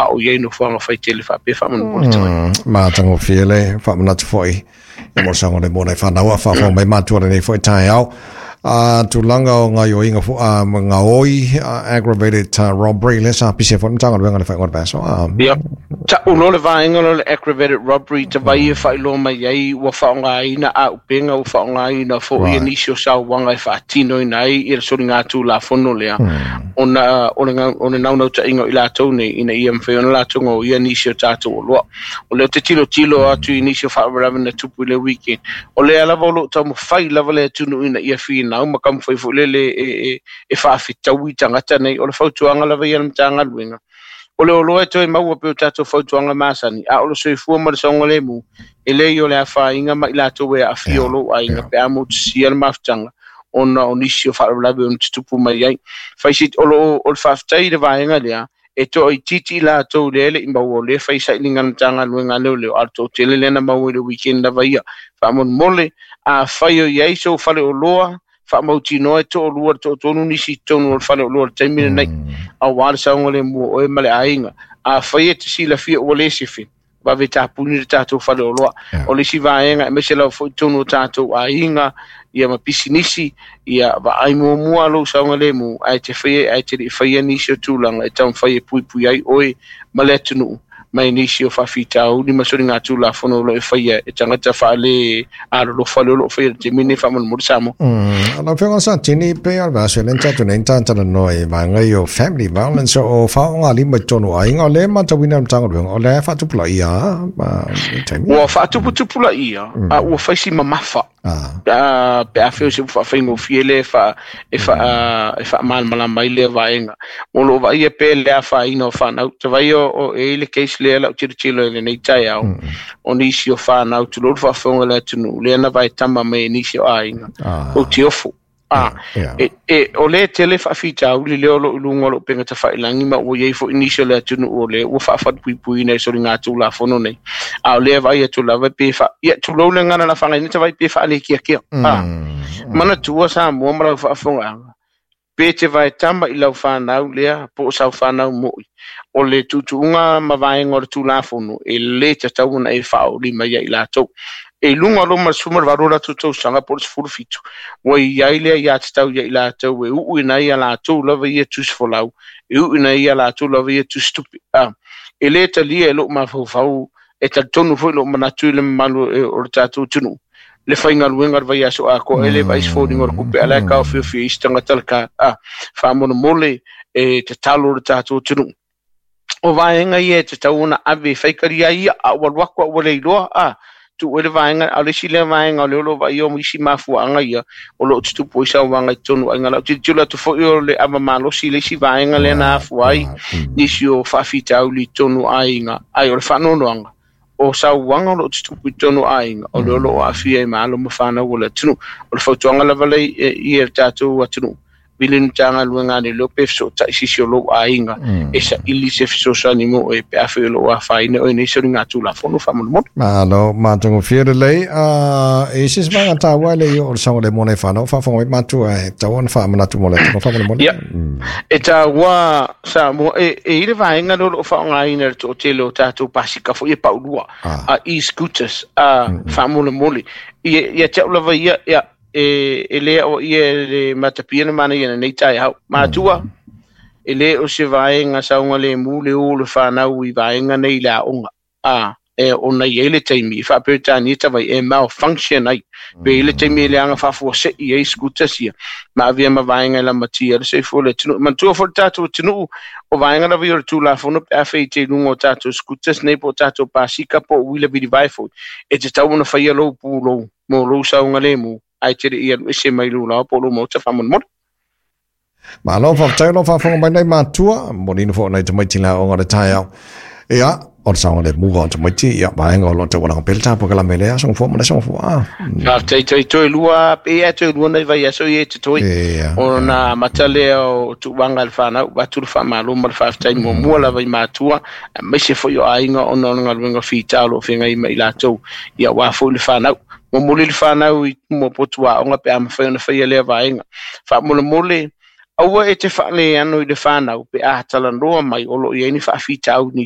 A o i ai nofoaga faitele faapea faamolemole tai. Matagofie le faamanatu foi i mo le saogalemu o nai fanau a faafofoga mai matua i lenei foi taeao. Tulaga o gaoioiga foi gaoi, aggravated robbery lea sa pisia foi le Matagaluega i le faaiuga o le vaiaso. Ia, ta'u loa le vaega lea o le aggravated robbery, tavai e faailoa mai ai ua faaaogaina auupega, ua faaaogaina foi nisi o sauaga e faatinoina ai le soligatulafono lea, ona o le naunautaiga o i latou nei ina ia mafai ona latou gaoia nisi o tatou oloa. O lea ou te tilotilo atu i nisi o faalavelave na tupu i le weekend, o lea lava o lo o taumafai lava le atunuu ina ia finau ma taumafai foi lele e faafetaui tagata nei. O le fautuaga lava ia a le Matagaluega, o le oloa e toe maua pei o tatou fautuaga masani, a o le soifua ma le saogalemu, e leai o le afaina ma i latou e aafia o lou aiga pe a motusia le mafutaga ona o nisi o faalavelave ona tutupu mai ai. Fai o lo o le faafetai i le vaega lea, e toaitiiti i latou lea e le i maua, o lea e fai sailiga a le Matagaluega a Leoleo, a o le toatele lea na maua i le weekend lava ia. Faamolemole, afai o i ai sou faleoloa, faamautinoa e toalua i le toatolu nisi i totonu o le faleoloa i le taimi lenei, aua le saogalemu o oe ma le aiga. Afai e te silafia ua le sefe, vave tapuni le tatou faleoloa. O le isi vaega, aemaise lava foi i totonu o tatou aiga, ia ma pisinisi, ia vaai muamua lou saogalemu, ae te faia, ae te le i faia nisi o tulaga e taumafai e puipui ai oe ma le atunuu mai nisi o faafitauli ma soligatulafono o lo o e faia e tagata faale alolofa lea o lo o faia i le taimi lenei faamolemole Samoa. Lau Afioga Satini, pei lava o le vaiaso lea na tatou nei na talanoa i vaega ia o family violence, o faaaogalima i totonu o aiga, o lea e matauina e le Matagaluega, o lea e faatupulaia lava i taimi. Ua faatuputupulaia, a ua fai si mamafa. Pe a fai o se upu faafaigofie lea e faamalamalama ai lea vaega. O lo o vaaia pea le afaina o fanau. Tavai o e i ai le case lea lau tilotilo i lenei taeao, o nisi o fanau, tulou le faafofoga a le atunuu, lea na vaetama mai e nisi o aiga, o tiofo. O lea e tele faafitauli lea o lo o i luga o lou upega tafailagi, ma ua i ai foi nisi o le atunuu o lea ua faafalupuipuiina i soligatulafono nei. A o lea e vaai atu lava pe fa, ia, tulou le gagana na faagaina tavai pe faalekiakea. Manatua Samoa ma lau faafofogaaga, pe te vaetama i lau fanau lea po o sau fanau moi, o le tuutuuga ma vaega o le Tulafono e le tatau ona e faaolima ia i latou. E i luga o loma le 18 o latou tausaga po o le 17, ua i ai le aiatatau ia i latou e uuina ai a latou lava ia tusifolau, e uuina ai a latou lava ia tusitupe. E le talia e lou mafaufau, e talitonu foi lou manatu i le mamalu o le tatou atunuu, le faigaluega o le vaiaso atoa e le vaai se foliga o le tupe, a la e taofiofi ai isi tagata le ka. Faamolemole e tatalo le tatou atunuu. O vaega ia e tatau ona ave e faitalia ai ia, a ua alu atu a ua le iloa, tuu ai le vaega, a o le isi lea vaega o lea o lo o vaaia o isi mafuaaga ia o lo o tutupu ai sauaga i totonu o aiga. Lau tilotilo atu foi o le ava malosi le isi vaega lea na afua ai nisi o faafitauli i totonu o aiga, ai o le faanoanoaga o sauaga o lo o tutupu i totonu o aiga, o lea o lo o aafia ai ma alo ma fanau o le atunuu. O le fautuaga lava lea i le tatou atunuu, vili le Matagaluega a Leoleo pe fesootai se isi o lou aiga e saili se fesoasoani mo oe pe afai o lo o afaina oe nei soligatulafono faamolemole. Malo, matagofie lelei. E i se isi vaega taua e le i oo i le saogalemu o nai fanau, faafofoga mai matua e tatau ona faamanatu mo le atunuu faamolemole. Ia, e taua Samoa, e i ai le vaega lea o lo o faaaogaina e le toatele o tatou pasika foi e paulua, e-scooters, faamolemole. Ia te au lava ia, ia, e le aoaia e le matapia le manaia i lenei taeao. Matua, e le o se vaega saogalemu le o le fanau i vaega nei i le aoga. E ona i ai le taimi i faa-Peretania tavai e malfunction ai. Pe i le taimi e leaga faafuasei ai scooters ia, ma avea ma vaega e lamatia le soifua o le atunuu. Manatua foi le tatou atunuu, o vaega lava ia o le Tulafono pe afai te i luga o tatou scooters nei po o tatou pasika po o uila vilivae foi, e tatau ona faia lou pulou mo lou saogalemu ae te le i alu ese mai lou laoa po o lou maota faamolemole. Malo, faafetai o lo o faafofoga mai nei matua, momoliina foi nai tamaiti i le aoga o le taeao. Ia, o le saogalemu o tamaiti, ia, vaega o lo o taualaga pea le tā polokalame i lea aso gafua ma le aso gafua. Faafetai toe toe lua, pe ia toe lua nai vaiaso ia e totoe. Ona amata lea o tuuaga i le fanau, avatu le faamalo ma le faafetai muamua lava i matua, aemaise foi o aiga ona o le galuega fita o lo o feagai ma i latou, ia aua foi le fanau. Momoli le fanau i tumu o potu aoga pe a mafai ona faia lea vaega. Faamolemole, aua e te faaleano i le fanau pe a talanoa mai o lo o i ai ni faafitauli.